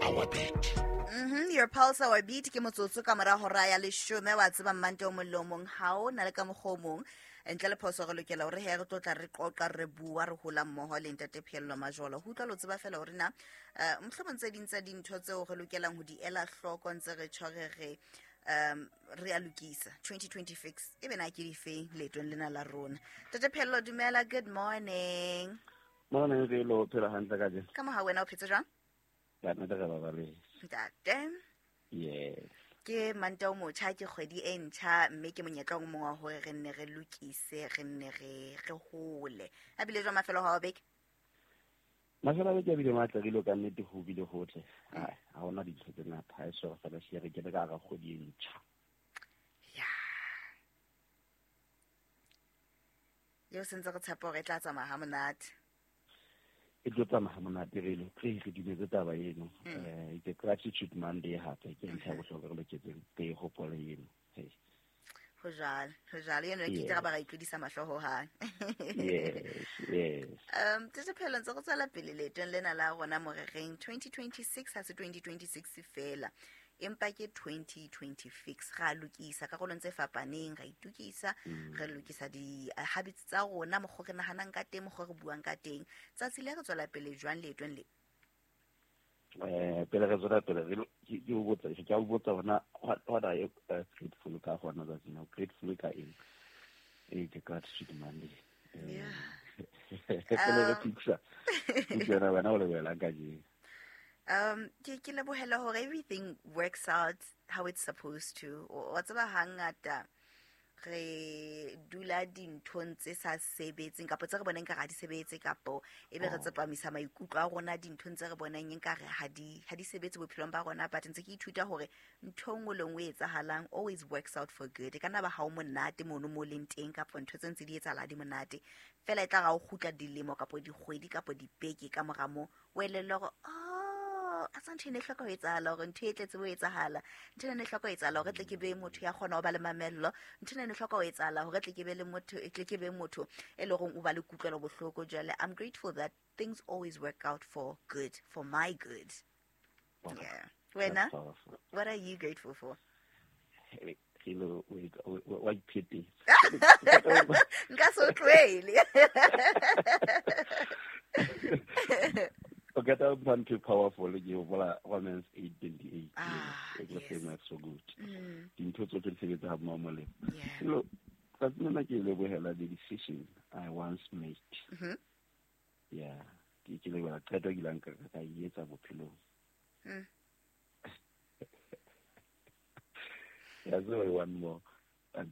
our beat. Your pulse, our beat. Ke motsotso ka mora hora ya 10. Wa tseba mmante o mong le o mong ha o na le ka mokgwa o mong ntle le phoso re lokela hore he re tlo tla re qoqa, re bua, re hola mmoho le ntate Pheello Majolo. Ho utlwa lo tseba fela hore na mohlomong tse ding tsa dintho tseo re lokelang ho di ela hloko ntse re tjho re re re a lokisa 2026 e be na ke difeng leetong lena la rona. Ntate Pheello, dumela, good morning. Morning, re lo phela hantle ka jeno. Ka moha wena o phetse jwang? Ka nnete re babaletse. Ntate. Yes. Ke manta o motjha, ke kgwedi e ntjha, mme ke monyetla o mong wa hore re nne re lokise, re nne re hole. A bile jwang mafelo ha o beke? Mafelo a beke a bile matle, re ile ka nnete ho bile hotle. Ai, ha hona dintho tse ngata, ha e so re fela hle re kene ka hara kgwedi e ntjha. Ya. Eo sentse re tshepa hore e tla tsamaya ha monate. E tlo tsamaya ha monate re lo, re dumetse taba eno. It's a gratitude Monday hape, ke ntlha ya bohlokwa re loketseng re e hopole eno. Hey. Ho jwalo, ho jwalo. Eno ke taba ra itlodisa mahlo ho hang. Yes, yes. Tete Pheello, ntse re tswela pele leetong lena la rona morereng 2026 ha se 2026 fela, empa ke 2026. Ra lokisa karolong tse fapaneng, ra itukisa, re lokisa di habits tsa rona, mokgwa re nahanang ka teng, mokgwa re buang ka teng. Tsatsi le re tswela pele jwang leetong le? Pele re tswela pele, re lo, ke, ke o botsa, ke a o botsa hona, what are you grateful ka hona tsatsing la? Grateful ka eng? Ke gratitude Monday. Yeah. Pele re fixa, ke tsena wena o lebohelang kajeno. Ke lebohela hore everything works out how it's supposed to. Wa tseba hangata re dula dinthong tse sa sebetseng kapa tse re bonang nkare ha di sebetse, kapo ebe re tsepamisa maikutlo a rona dinthong tse re bonang nkare ha di sebetse bophelong ba rona. But ntse ke ithuta hore ntho e nngwe le nngwe e etsahalang always works out for good. E ka nna ba ha o monate mono mo leng teng, kapa ntho tse ntse di etsahala ha di monate, fela e tla ra o kgutla dilemo kapo dikgwedi kapo dibeke ka mora moo, o elellwe hore, oh, a sa ntho e ne e hloka ho etsahala hore ntho e tletse ho etsahala, ntho e ne e hloka ho etsahala hore tle ke be motho ya kgona ho ba le mamello, ntho e ne e hloka ho etsahala hore tle ke be le motho, tle ke be motho e leng hore o ba le kutlwelo bohloko. Jwale I'm grateful that things always work out for good, for my good. Wow. Yeah. Wena, That's powerful. what are you grateful for? Hey, hello, wait, wait, wait, wait, pity. Nka so tlohele. Okay, that one too powerful. You hopola Romans 8:28. Everything Yes. works so good. Dintho tsohle di sebetsa ha mmoho molemo. Yeah. Hello, tsatsi lena ke lebohela the decision I once made. Yeah, ke lebohela qeto ke ileng ka e etsa bophelong. Yeah, sorry, one more. But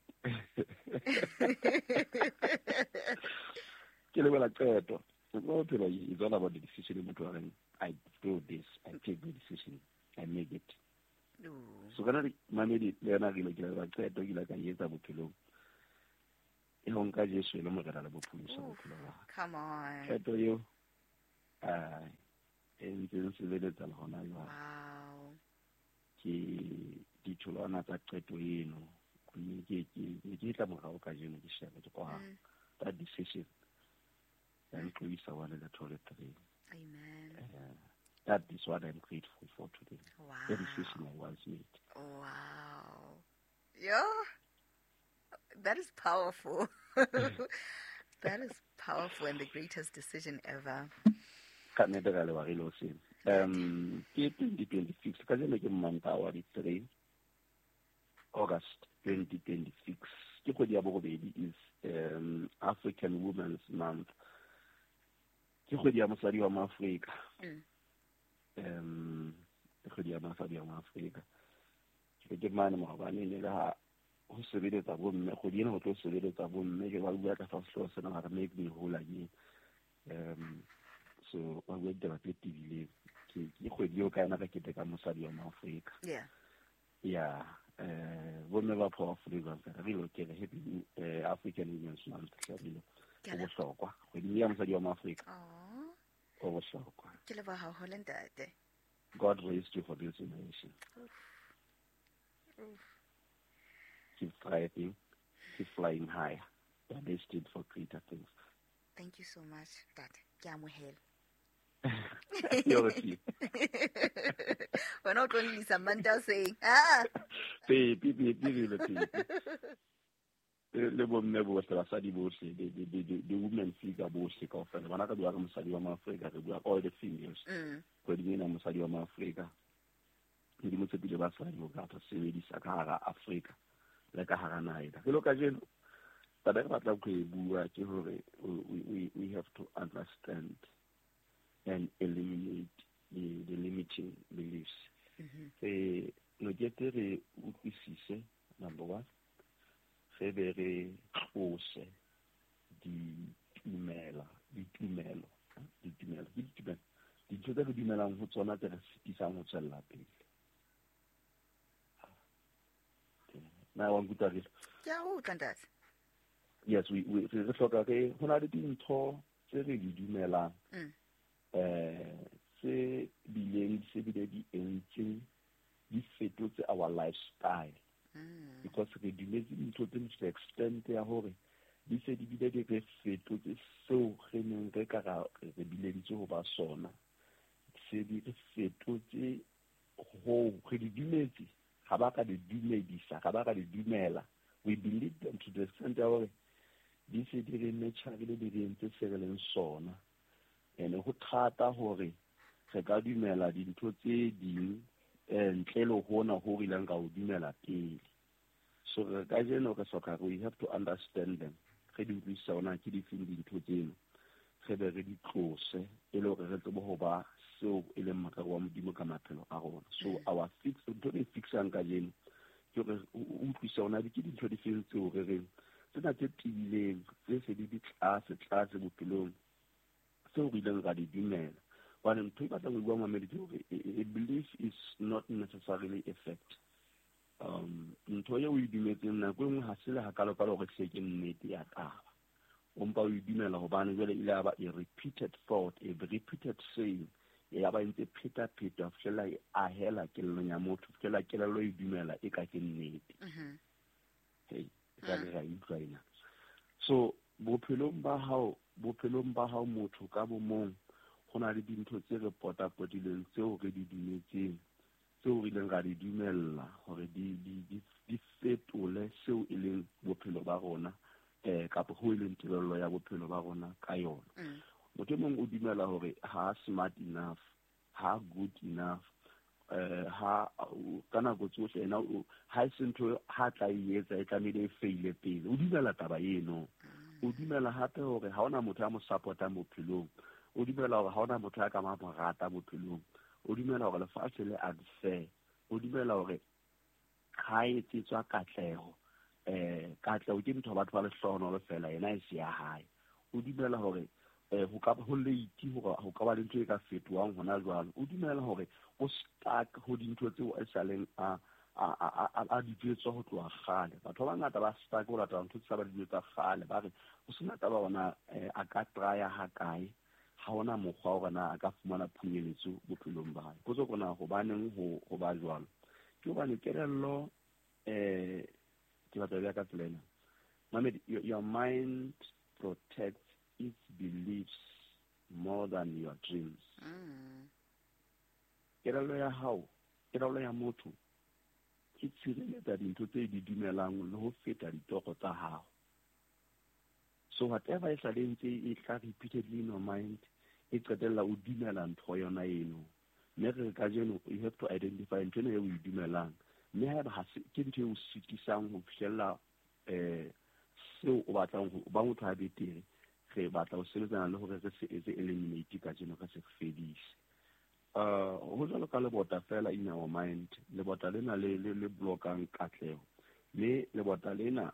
ke lebohela qeto. Bophelo is all about the decision. Motho a reng, I do this, I take the decision, I make it. Ooh. So kana re mamedi le yena re ile ke leboha qeto ke ile ka e etsa bophelong. E ho nka Jesu e le morena le bopholosi Oof, bophelo ba ka. Come on. Qeto eo, e ntse e nsebeletsa le hona jwale. Wow. Ke ditholwana tsa qeto eno. Mme ke tla morao kajeno ke shebe ke kwa that decision. Ya ntlodisa 1 le 2 le 3. Amen. That is what I'm grateful for today. Wow. The decision I once made. Wow. Yeah. That is powerful. That is powerful and the greatest decision ever. Ka nnete ka leboha re le hoseng. Ke 2026, kajeno ke Mantaha wa di 3 August 2026. Ke kgwedi ya borobedi, is African Women's Month. Ke kgwedi ya mosadi wa Maafrika. Ke kgwedi ya mosadi wa Maafrika. Ke ke mane maobane ne le ha ho sebeletsa bomme, kgwedi ena ho tlo sebeletsa bomme, ke ba bua ka sehlooho sena ba re make me whole again. So ba bua ditaba tse tebileng. Ke kgwedi eo ka yona re keteka mosadi wa Maafrika. Yeah. Yeah. Bomme ba powerful jwang fela, re lokele happy African Women's Month, re lo. Ke Ho a leboha. bohlokwa. Kgwedi ya mosadi wa Maafrika. Aw. Ho bohlokwa. Ke leboha haholo, ntate. God raised you for this generation. Oof. Oof. Keep thriving, keep flying higher. You are destined for greater things. Thank you so much, Dad. Ke amohela. Yo, Wena o tlo nlisa Mantaha hoseng. Ah. Pepi, pepi, re le pepi. Le bomme bohle, basadi bohle, the women figure bohle kaofela. Bana ka bua ka mosadi wa Maafrika, re bua all the females. Kgweding ena mosadi wa Maafrika. Modimo tshepile basadi ho ka sebedisa ka hara Afrika le ka hara naha ena. Jwalo kajeno, taba e re batlang ho e bua ke hore we have to understand and eliminate the limiting beliefs. Re loketse re utlwisise, number one, re be re tlose ditumelo, ditumelo, ditumelo, ke ditumelo, dintho tse re dumelang ho tsona tse re sitisang ho tswella pele. Na wa nkutlwa re? Ke a utlwa, ntate. Yes, we re hloka re, ho na le dintho tse re di dumelang, tse bileng se bile di entseng, di fetotse our lifestyle. Because re dumetse dintho tse to the extent ya hore di se di bile di re fetotse seo re neng re ka ra re bileditswe ho ba sona. Se di re fetotse ho re di dumetse, ha ba ka di dumedisa, ha ba ka di dumela. We believe them to the extent ya hore di se di re metjharile, di re entse se re leng sona. Ene ho thata hore re ka dumela dintho tse ding, ntle le hona ho re ileng ka ho dumela pele. So re kajeno re hloka, we have to understand them. Re di utlwisisa hore na ke difeng dintho tseno, re be re di tlose e le hore re tsebe ho ba seo e leng morero wa Modimo ka maphelo a rona. So our fix, ntho e re fixang kajeno ke hore o utlwisise hore na ke dintho difeng tseo re reng tsena tse tiileng, tse se di di tlase tlase bophelong, tseo re ileng ra di dumela. Hobane ntho e batlang ho bua mamedi ke hore a belief is not necessarily a fact. Ntho eo o e dumetseng nako e nngwe ha se le hakalo-kalo hore hle ke nnete ya taba. O mpa o e dumela hobane jwale ile ya ba a repeated thought, a repeated saying, ya ba e ntse pheta-pheta ho fihlela e ahela kelellong ya motho, ho fihlela kelello e dumela e ka ke nnete. Hey, e ka re ra e utlwa ena. So bophelong ba hao, bophelong ba hao motho ka bo mong, ho na le dintho tse re potapotileng tseo re di dumetseng, tseo re ileng ra di dumella hore di fetole seo e leng bophelo ba rona, kapa ho e leng tebello ya bophelo ba rona ka yona. Motho e mong o dumela hore ha smart enough, ha good enough, ha ka nako tsohle ena o, ha e se ntho ha tla e etsa e tlamehile e faile pele. O dumela taba eno. O dumela hape hore ha hona motho a mo support-ang bophelong. O dumela hore ha hona motho a ka mo rata bophelong. O dumela hore lefatshe le unfair. O dumela hore ha e etsetswa katleho, katleho ke ntho batho ba lehlohonolo fela, yena e se ya hae. O dumela hore, ho ka ho late hore ho ka ba le ntho e ka fetohang hona jwale. O dumela hore o stuck ho dintho tseo e saleng a di jwetswa ho tloha kgale. Batho ba bangata ba stuck ho latela ntho tse ba di jwetsa kgale, ba re ho sena taba hore a ka try-a ha kae, ha hona mokgwa hore na a ka fumana phunyeletso bophelong ba hae. Potso ke na hobaneng ho ba jwalo? Ke hobane kelello, ke batla ho bea ka tsela ena. Mamedi, your mind protects its beliefs more than your dreams. Kelello ya hao, kelello ya motho e tshireletsa dintho tse di dumelang le ho feta ditoro tsa hao. So whatever e sale ntse e tla repeatedly in your mind, e qetella o dumela ntho yona eno. Mme re re kajeno you have to identify ntho ena eo o e dumelang. Mme haeba ha se, ke ntho e o sitisang ho fihlella, seo o batlang ho ba motho a betere, re batla ho sebetsana le hore re se etse eliminate kajeno, re se fedise. Ho jwalo ka lebota fela in our mind, lebota lena le blockang katleho. Mme lebota lena,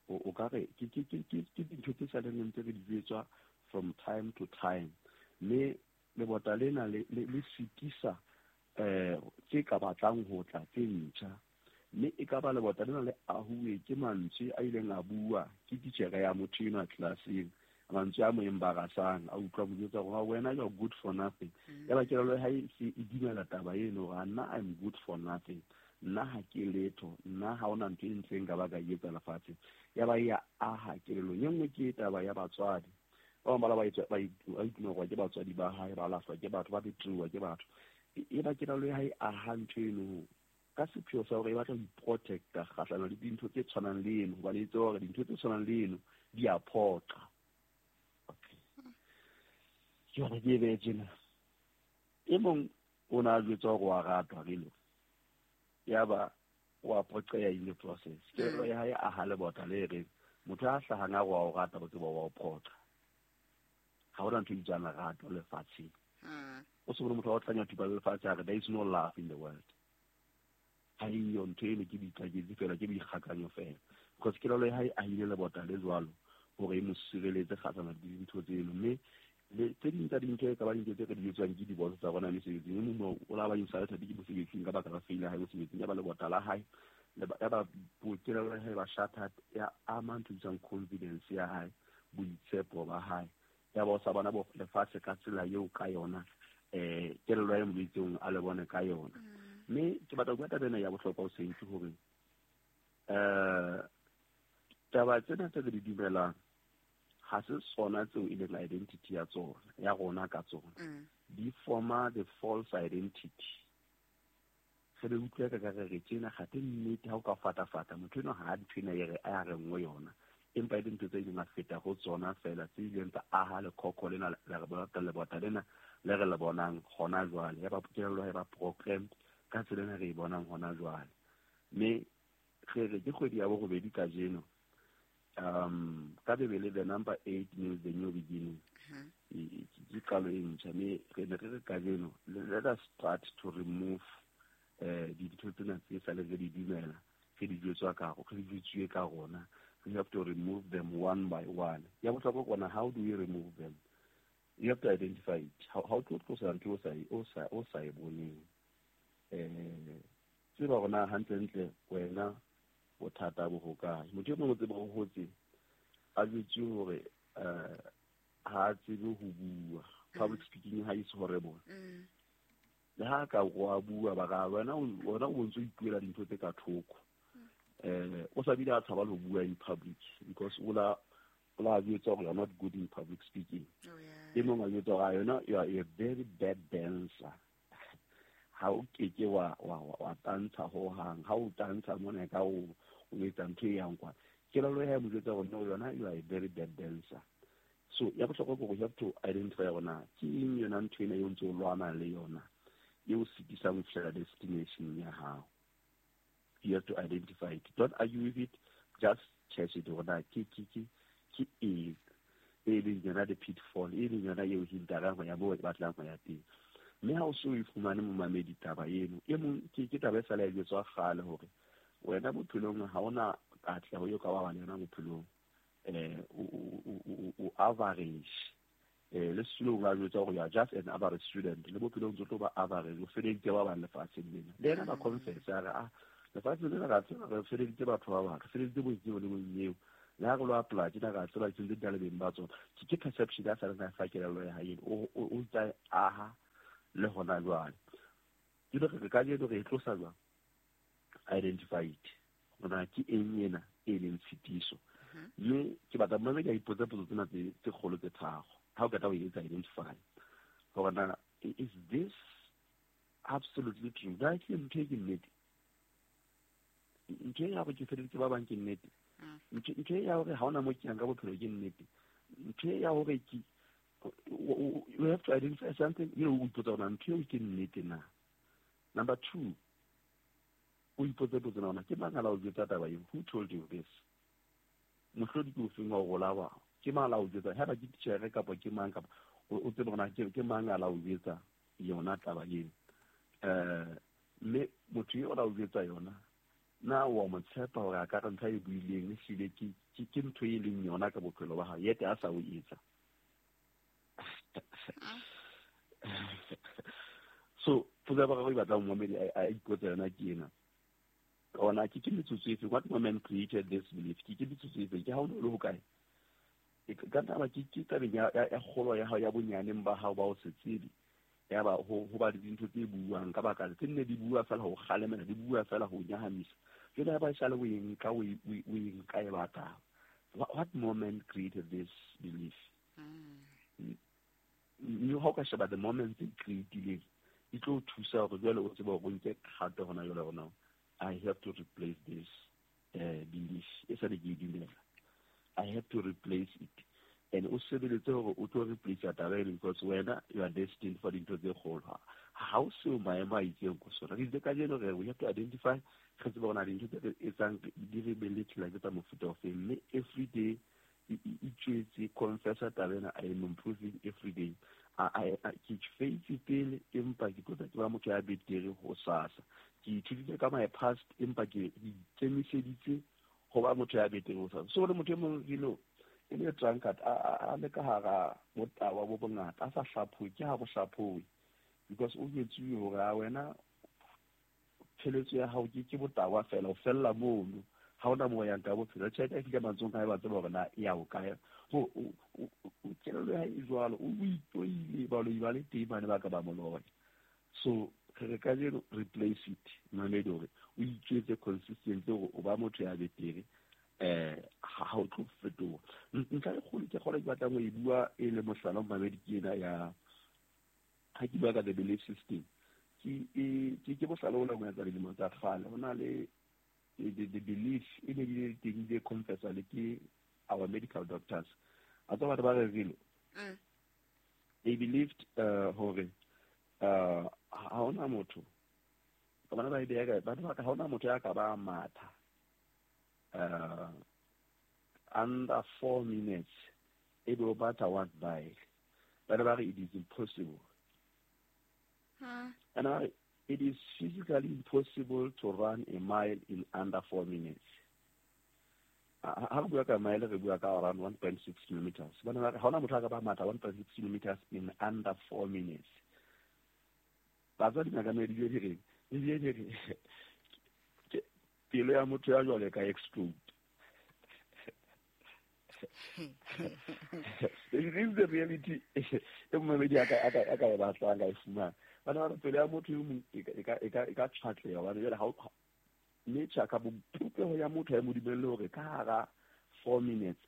o ka re, ke dintho tse sa leng ntse re di jwetswa from time to time. Mme lebota lena le sitisa, tse ka batlang ho tla tse ntjha. Mme e ka ba lebota lena le ahuwe ke mantswe a ileng a bua ke titjhere ya motho enwa tlelaseng, mantswe a mo embarrassang, a utlwa mo jwetsa hore wena you are good for nothing. Ya ba kelello ya hae se e dumela taba eno hore nna I'm good for nothing, nna ha ke letho, nna ha hona ntho e ntle nka ba ka e etsa lefatsheng. Ya ba ya aha kelellong. E nngwe ke taba ya batswadi. Ba bang ba la ba ba ke batswadi ba hae, ba lahlwa ke batho, ba betuwa ke batho. E ba kelello ya hae aha ntho eno ka sepheo sa hore e batla ho iprotecta kgahlano le dintho tse tshwanang le eno, hobane e tseba hore dintho tse tshwanang le eno di a phoqa. Okay. Ke hore ke e behe tjena. E mong o ne a jwetswa hore wa ratwa relo. Yaba wa phoqeha in the process. Kelello ya hae aha lebota le reng motho a hlahang a re wa o rata, o tseba wa o phoqa. Ha hona ntho e bitswang lerato lefatsheng. O se bone motho wa o tlanya thupa le lefatshe a re there is no love in the world. Ha eyo ntho eno, ke boikaketsi fela, ke boikgakanyo fela. Because kelello ya hae ahile lebota le jwalo hore e mo sireletse kgahlano le dintho tseno. Mme le tse ding tsa dintho e ka ba dintho tse re di etswang ke diboso tsa rona mesebetsing. E mong o la ba insulted ke mosebetsing ka baka la fail ya hae mosebetsing, ya ba lebota la hae ya ba kelello ya hae ba shattered, ya ama ntho e bitswang confidence ya hae, boitshepo ba hae. Ya ba o sa bona bo lefatshe ka tsela eo ka yona, kelello ya mo jwetseng a le bone ka yona. Mme ke batla ho bua taba ena ya bohlokwa hoseng, ke hore taba tsena tse re di dumelang ha se tsona tseo e leng identity ya tsona, ya rona ka tsona. Di forma the false identity. Re be utlwe ka re re tjena, kgathe nnete ha o ka fata-fata motho eno ha ntho ena e re a re nngwe yona, empa e le ntho tse ileng a feta ho tsona fela, tse ileng tsa aha lekhokho lena le re bona, lebota lena le re le bonang hona jwale. Ya ba kelello ya ba programmed ka tsela ena re e bonang hona jwale. Mme re re ke kgwedi ya borobedi kajeno. Ka Bibele the number 8 means the new beginning. Ke qalo e ntjha. Mme re ne re re kajeno let us start to remove dintho tsena tse sa le re di dumela, re di jwetswa ka, re di jwetsuwe ka rona. We have to remove them one by one. Ya bohlokwa ke ona, how do we remove them? You have to identify it. Ha o tlo tlosa ntho o sa e boneng. Tseba hore na hantlentle wena bothata bo hokae. Motho e mong o tseba o hotse a jwetsuwe hore ha a tsebe ho bua. Public speaking ha is horrible. Le ha ka wa bua ba ra wena o bontse o ipuela dintho tse ka thoko. O sa bile a tshaba le ho bua in public because o la jwetsa hore you are not good in public speaking. E mong a jwetsa hore yona you are a very bad dancer. Ha o keke wa tantsha ho hang. Ha o tantsha mona ka o etsa ntho e yang kwa. Kelello ya hae mo jwetsa hore no, yona you are a very bad dancer. So ya bohlokwa ke hore you have to identify hore na ke eng yona ntho ena eo ntse o lwana le yona e o sitisang ho fihlela destination ya hao. You have to identify it. Don't argue with it. Just catch it. Hore na ke eng e leng yona the pitfall, e leng yona eo hintarang ho ya moo e batlang ho ya teng. Mme ha o so e fumane momamedi taba eno, e mong ke taba e sale ya jwetswa kgale hore wena bophelong ha ona katleho eo ka ba le yona bophelong. O average. Le sekolong a jwetsa hore you are just an average student. Le bophelong tlo ba average, o feleditse ba bang lefatsheng lena. Le yena ba confess a re ah, lefatsheng lena ra tseba re feleditse batho ba bang, re feleditse bonyeo le bonyeo. Le ha re lo apply tjena ra tseba tse di le beng ba tsona. Ke perception ya sa rena fa kelello ya hae o ntsa aha le hona jwale. Ke re ka jeno re e tlosa jwang? Identify it. Hona ke eng ena e leng tshitiso. Mme ke batla mmamedi a ipotse potso tsena tse kgolo tse tharo. Ha o qeta ho etsa identify hore na is this absolutely true? Na ke ntho e ke nnete? Ntho e ya hore ke feleditse ba bang ke nnete? Ntho e ya hore ha hona mo ke yang ka bophelo ke nnete? Ntho e ya hore ke you have to identify something, you know, o ipotsa hore ntho eo ke nnete na. Number 2, o ipotse potso na ke mang a la o jwetsa taba eo? Who told you this? Mohlodi ke ofeng wa ho lawa? Ke mang a la o jwetsa? Haeba ke titjhere kapa ke mang kapa o tsebe hore na ke mang a la o jwetsa yona taba eo. Mme motho eo a la o jwetsa yona, na wa mo tshepa hore a ka re ntho e buileng ehlile ke ntho e leng yona ka bophelo ba hae, yete a sa o etsa. So potso ya boraro e batlang momamedi a ipotsa yona ke ena. Ona ke metsotso efe? What moment created this belief? Ke metsotso efe? Ke ha o le hokae? Ka taba ke tabeng ya kgolo ya hao ya bonyaneng ba hao ba o se tsebe. Ya ba ho ba le dintho tse buang ka baka tse nne di bua fela ho kgalemela, di bua fela ho nyahamisa. Jwale ha ba sale o e nka o e nka e batla. What moment created this belief? Mme ha o ka sheba the moment tse creatileng di tlo o thusa hore jwale o tsebe hore o nke kgato hona jwale hore now I have to replace this belief e sa le ke e dumela. I have to replace it. And o sebeletse hore o tlo replace taba eno because wena you are destined for dintho tse kgolo. Ha o seo maemo a itseng ko sona. Re itse kajeno re we have to identify re tsebe hore na dintho tse re etsang di re beletsela ke tsa mofuta ofeng. Mme every day itjwetse confessa taba ena, I am improving every day. Ke faitse pele empa ke tlo tla ke ba motho ya betere hosasa. Ke ithutile ka my past empa ke ikemiseditse ho ba motho ya betere hosasa. So le motho e mong dilo e le drunkard a le ka hara botawa bo bongata a sa hlaphohe, ke ha bo hlaphohe because o jwetsuwe hore a wena pheletso ya hao ke botawa fela, o fella mono, ha hona moo o yang ka bophelo. Tjhelete e fihla matsohong a hae, ba tseba hore na e ya ho kae. Ho kelello ya hae e jwalo, o itoile, baloi ba le teng bane ba ka ba mo loya. So re re kajeno replace it, mamedi, hore o itjwetse consistently hore o ba motho ya betere, ha o tlo fetoha. Ntlha e kgolo ke kgona ke batlang ho e bua e le mohlala mamedi ke ena ya ha ke bua ka the belief system. Ke mohlala ona mo etsa dilemo tsa kgale. Ho na le the belief e ne di teng di confessa le ke our medical doctors. A tswa batho ba rerile. They believed hore ha hona motho ka bona ba e beha kae, batho ba ka ha hona motho ya ka ba matha under 4 minutes e be o batha 1 mile. Ba ne ba re it is impossible. And I, it is physically impossible to run a mile in under 4 minutes. Ha re bua ka mile, re bua ka around 1.6 kilometers. Ba ne ba re ha hona motho a ka ba matha 1.6 kilometers in under 4 minutes. Batswadi ba ka me di re, di re pelo ya motho ya jwale ka explode. It is the reality. E mmedi a ka e batlang ka e fumana. Bana ba pelo ya motho e mong e ka tshwatleha hobane jwale ha nature ka bopopeho ya motho ya mo dumelle hore ka hara 4 minutes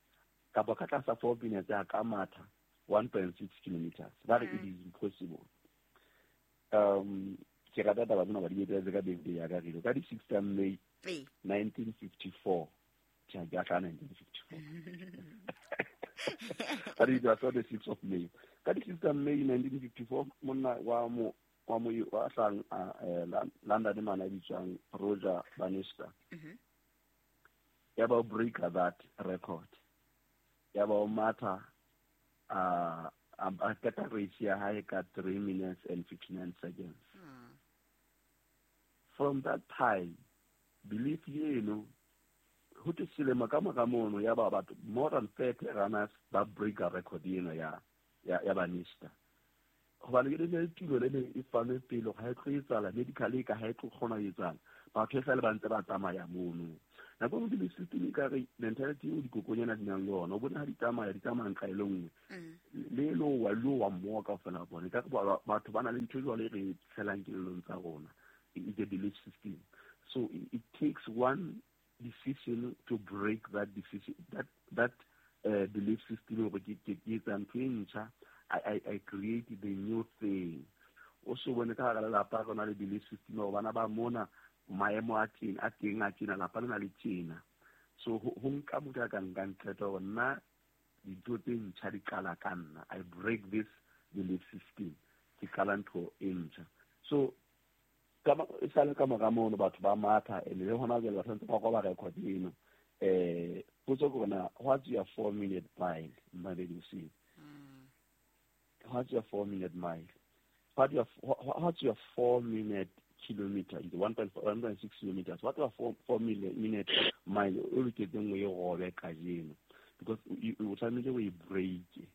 kapa ka tlasa 4 minutes a ka matha 1.6 kilometers. Ba re it is impossible. Ke rata taba tsena ba di etsetse ka birthday ya ka rilo ka di 6 tsa May 1954. Tjha, ke a tla 1954. Ka di the 6th of May. Ka di 6 tsa May 1954 monna wa mo wa hlang London mana bitswang Roger Bannister. Ya ba break that record. Ya ba matha a qeta race ya hae ka 3 minutes and 59 seconds. From that time, belief eno ho te selemo ka mora mono ya ba batho more than 30 runners ba break a record eno ya Bannister. Hobane ke le tulo le e fanwe pele ha e tlo etsahala medically ka ha e tlo kgona ho etsahala. Batho e sale ba ntse ba tsamaya mono. Nako e nngwe system e ka re mentality eo dikokonyana di nang le yona, o bona ha di tsamaya nqa e le nngwe. Le lo wa mmoho kaofela bona. Ka batho ba na le ntho jwale e re tshelang kelellong tsa rona. It's a belief system. So it takes one decision to break that decision, that belief system. I created the new thing. Also, when ka hara lelapa re na le belief system hore bana ba mona maemo a teng a tjena lapa le na le tjena. So ho nka motho a ka nkang qeto hore nna dintho tse ntjha di qala ka nna. I break this belief system. Ke qala ntho e ntjha. So e sale ka mora mono batho ba matha and le hona jwale batho ba roba record eno. Potso ke hore na what's your 4-minute mile, Mabedi Osini? What's your 4-minute mile? What's your 4-minute kilometer? It's 1.6 kilometers. What your 4-minute mile? O loketseng o e robe kajeno because o tshwanetse o e break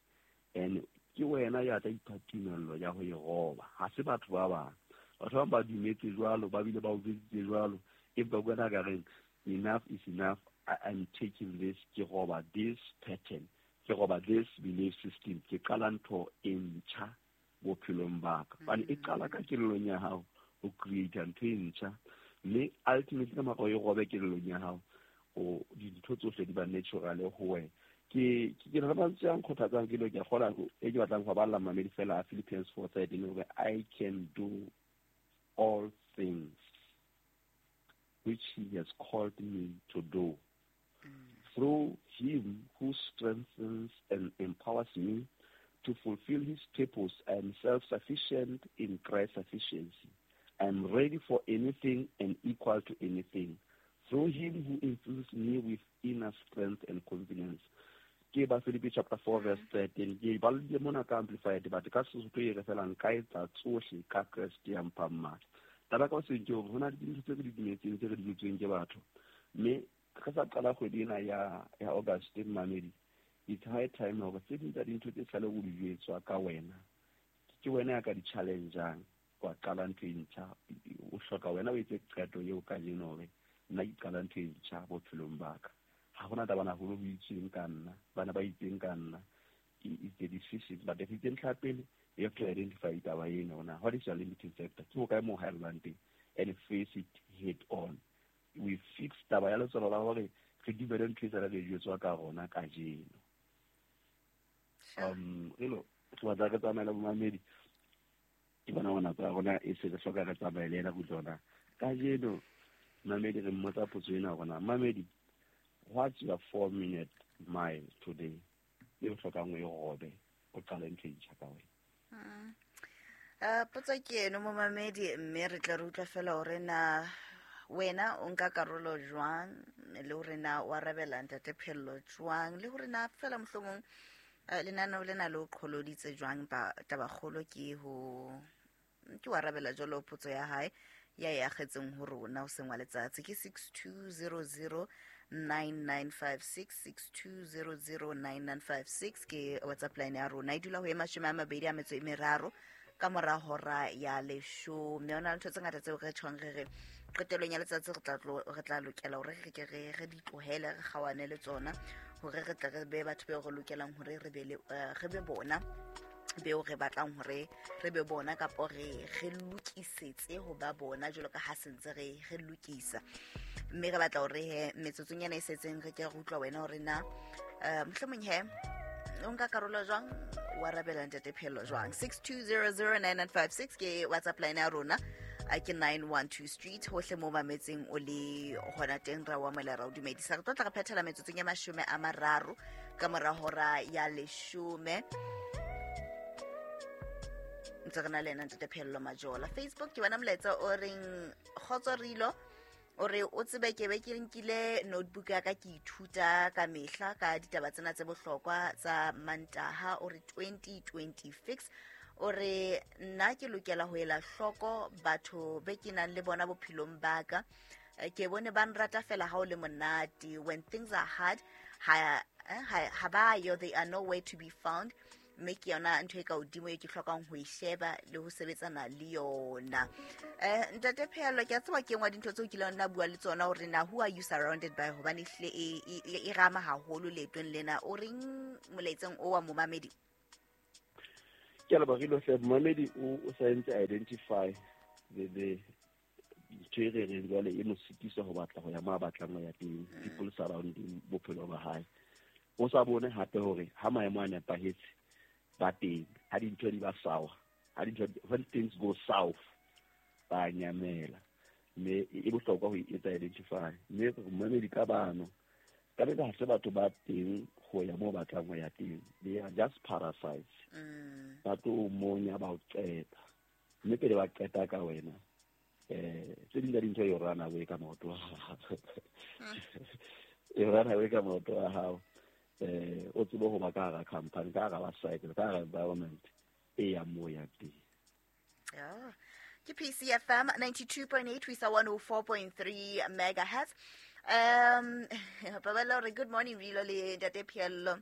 and ke wena ya tla ipha tumello ya ho e roba. Ha se batho ba bang. Batho ba dumetse jwalo, ba bile ba o jwetsitse jwalo, empa wena ka reng enough is enough. I'm taking this, ke roba this pattern, ke roba this belief system, ke qala ntho e ntjha bophelong ba ka. Hobane e qala ka kelellong ya hao ho create ntho e ntjha, mme ultimately ka mora o e robe kelellong ya hao, o dintho tsohle di ba natural ho wena. Ke na le mantswe a nkgothatsang ke lo ke a kgola e ke batlang go balla mamedi fela a Philippians 4:13 hore I can do all things which he has called me to do. Through him who strengthens and empowers me to fulfill his purpose, I am self-sufficient in Christ's sufficiency. I am ready for anything and equal to anything. Through him who infuses me with inner strength and confidence. Ke ba Philippi chapter 4 verse 13. Ke balile mona ka Amplified, but ka Sesotho e re fela nka etsa tsohle ka Kreste ya mphang matla. Taba ka seng ke hore ho na le dintho tse re di dumetseng, tse re di dutsweng ke batho. Mme re sa qala kgwedi ena ya August, mamedi, it's high time hore tse ding tsa dintho tse sale o di jwetswa ka wena, ke wena ya ka di challenge-ang, wa qala ntho e ntjha. O hloka wena o etse qeto eo kajeno hore nna ke qala ntho e ntjha bophelong ba ka. Ha hona taba na holo ho itsweng ka nna, bana ba itseng ka nna. It's the decision. But if it's ntlha pele, you have to identify taba ena hore na what is your limiting factor, ke hokae moo haellang teng, and face it head on. We fix taba ya letswalo la hore re dumele ntho e sale re jwetswa ka rona kajeno. Relo, re batla re tsamaele bomamedi. Ke bona hore nako ya rona e se re hloka re tsamaye le ena ho tsona. Kajeno, mamedi re mmotsa potso ena hore na, mamedi, what's your 4-minute mile today? E o hlokang o e robe, o qale ntho e ntjha ka wena. Potso ke eno momamedi, mme re tla re utlwa fela hore na wena o nka karolo jwang, le hore na o arabela ntate Pheello jwang, le hore na fela mohlomong lenaneo lena le o qholoditse jwang. Ba tabakgolo ke ho ke o arabela jwalo potso ya hae ya e akgetseng ho rona hoseng wa letsatsi. Ke 62009956, 62009956 ke WhatsApp line ya rona. E dula ho e 23 ka mora hora ya 10. Ho na le ntho tse ngata tseo re tjhong re re qetellong ya letsatsi re tla lokela hore re ke re di tlohele, re kgawane le tsona, hore re tle re be batho beo re lokelang hore re be le, re be bona beo re batlang hore re be bona, kapo re lokisetse ho ba bona jwalo ka ha sentse re lokisa. Mme re batla hore he metsotsong ena e setseng re ke re utlwa wena hore na mohlomong he o nka karolo jwang, o arabela ntate Pheello jwang. 62009956 ke WhatsApp line ya rona, ke 912 Street, hohle moo mametseng o le hona teng, ra o amohela, ra o dumedisa. Re tlo tla re phethela metsotsong ya 30 ka mora hora ya 10. Ntse re na le ena ntate Pheello Majola. Facebook ke bona molaetsa o reng kgotso Rilo, o re o tsebe ke be ke nkile notebook ya ka ke ithuta ka mehla ka ditaba tsena tse bohlokwa tsa Mantaha. O re 2026, o re nna ke lokela ho ela hloko batho be ke nang le bona bophelong ba ka. Ke bone ba nrata fela ha o le monate. When things are hard, ha ba yo, they are nowhere to be found. Mme ke yona ntho e ka hodimo e ke hlokang ho e sheba le ho sebetsana le yona. Ntate Pheello, ke a tseba ke nngwe ya dintho tseo kileng nna bua le tsona hore na who are you surrounded by, hobane ehlile e rama haholo leetong lena. O reng molaetseng o wa momamedi? Ke a leboha, Rilo hle. Momamedi o sa entse identify the ntho e re reng jwale e mo sitisa ho batla ho ya mo a batlang ho ya teng, people surrounding bophelo ba hae. O sa bone hape hore ha maemo a nepahetse ba teng, ha dintho di ba sour, ha dintho, when things go south, ba nyamela. Mme e bohlokwa ho etsa identify. Mme momamedi ka bano, ka beka ha se batho ba teng ho ya moo batlang ho ya teng. They are just parasites. Ba tlo monya ba o qeta. Mme pele ba qeta ka wena, tse ding tsa dintho e run away ka maoto a hao. E run away ka maoto a hao. O tsebe ho ba ka hara company, ka hara cycle, ka hara environment e yang moo ya teng. Ke PCFM 92.8 ho isa 104.3 megahertz. Paballo re good morning Rilo le ntate Pheello.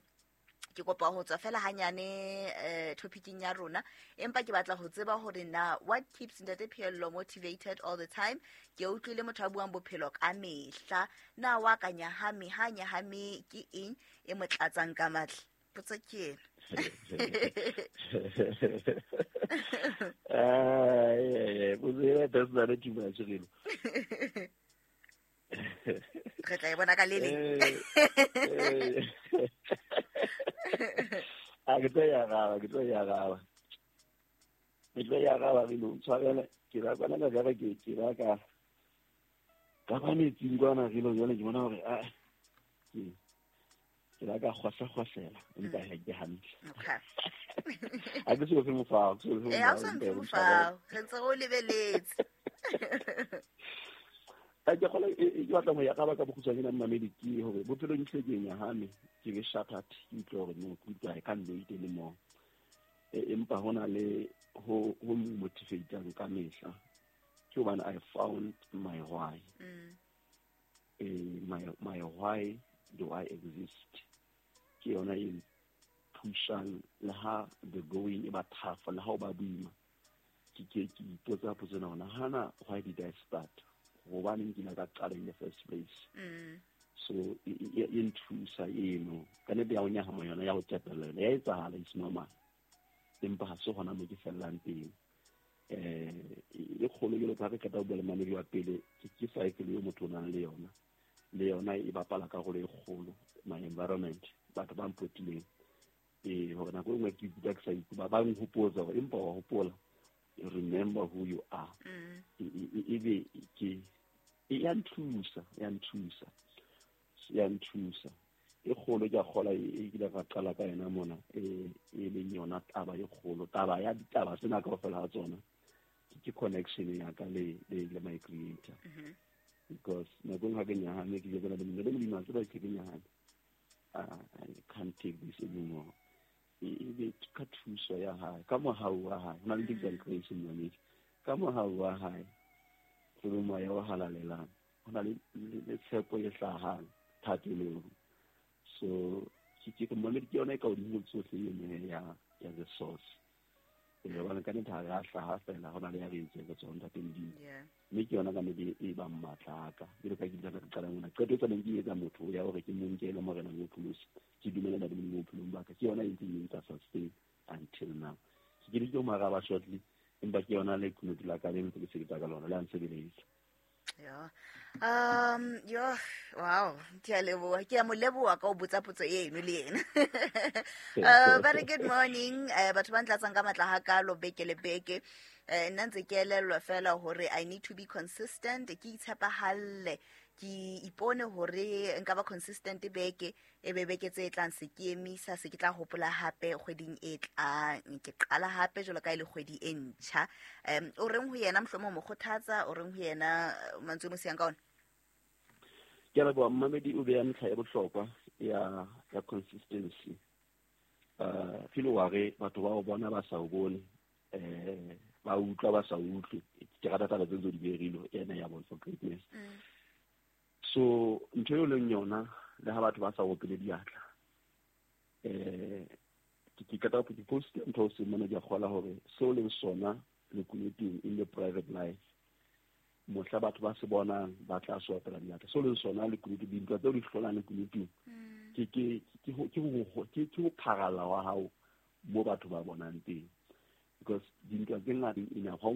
Ke kopa ho tswa fela hanyane topicing ya rona, empa ke batla ho tseba hore na what keeps ntate Pheello motivated all the time. Ke utlwile motho a buang bophelo ka mehla, na wa ka nyahame, ha nyahame ke eng e mo tlatsang ka matla? Potso ke ena. Potso ena personal too much, Rilo. Re tla e bona ka le leng. A ke tlo e araba, ke tlo e araba. Ke tlo e araba re no tshwarele ke la kwana ka jara ke la ka ba metsing kwana re lo jwale ke bona hore a ke la ka kgwahla-kgwahlela empa ha ke hantle. Ha ke so fe mofao, ke so fe Ha o so mofao, mphe empa o ntshwarele. Mofao re ntse re o lebeletse. A ke kgola ke batla ho ya ka baka bokgutshwane na mmamedi ke hore bophelong ke hle ke nyahame, ke be shattered, ke utlwe hore no, ke utlwa I can't do it anymore. Empa ho na le ho motivatang ka mehla ke hobane I found my why. My why do I exist ke yona e pushang le ha the going e ba tough, le ha o ba boima, ke ipotsa potso ena hore hana why did I start, hobaneng ke ile ka qala in the first place. So e nthusa eno ka nnete ya ho nyahama yona ya ho tepella yona ya etsahala, is normal, empa ha se hona mo ke fellang teng. E kgolo jwalo ka ha re qeta ho bua le mamedi wa pele, ke cycle eo motho o nang le yona, le yona e bapala karolo e kgolo, my environment, batho ba mpotileng, hore nako e nngwe ke ikutlwa ke sa ikutlwa, ba nhopotsa hore empa wa hopola, remember who you are. Ebe ke e ya nthusa, ya nthusa, ya nthusa e kgolo. Ke a kgola e kile ka qala ka yona mona, e leng yona taba e kgolo, taba ya ditaba tsena kaofela ha tsona, ke connection ya ka le my creator. Because nako e nngwe ha ke nyahame, ke jetsana le Modimo, le Modimo a tseba ke nyahame, I can't take this anymore. E be ka thuso ya hae, ka mohau wa hae, ho na le ntho e bitswang grace, mmamedi, ka mohau wa hae le moya o halalelang, ho na le tshepo e hlahang thapelong. So ke mmamedi, ke yona e ka hodimo ho tsohle eno ya the source, hobane ka nnete ha re a hlaha fela, ho na le ya re entseng re tswa ho Ntate Modimo. Mme ke yona ka nnete e bang matla a ka, jwalo ka ke ile ka qala mona, qeto e tsaneng ke etsa motho ya hore ke mo nke e le morena mo pholosi, ke dumela Ntate Modimo bophelong ba ka, ke yona e ntseng e ntsa sustain until now. Ke ke mo araba shortly, empa ke yona lekunutu la ka le ntse ke sebetsa ka lona le a nsebeletsa. Yo. Yo, wow, ke a leboha. Ke a mo leboha ka ho botsa potso eno le yena. Very good morning. Batho ba ntlatsang ka matla hakalo beke le beke. Nna ntse ke elellwa fela hore I need to be consistent, ke itshepahalle, ke ipone hore nka ba consistent beke e be beke tse tlang se ke emisa, se ke tla hopola hape kgweding e tlang ke qala hape jwalo ka e le kgwedi e ntjha. O reng ho yena, mohlomong mo kgothatsa, o reng ho yena, mantswe mo siyang ka ona? Ke a leboha mmamedi, o beha ntlha ya bohlokwa ya consistency. Feel wa re batho ba o bona ba sa o bone, ba utlwa ba sa utlwe, ke rata taba tse ntse di berilwe ena ya Born for Greatness. So ntho eo leng yona, le ha batho ba sa opele diatla, ke qeta ke post ntho o seng mona, ke a kgola hore seo leng sona lekunutung in the private life, mohla batho ba se bonang ba tla se opela diatla. Seo leng sona lekunutung, dintwa tseo di hlolang lekunutung, ke ho pharalla wa hao mo batho ba bonang teng, because dintwa tse ngata ina ha o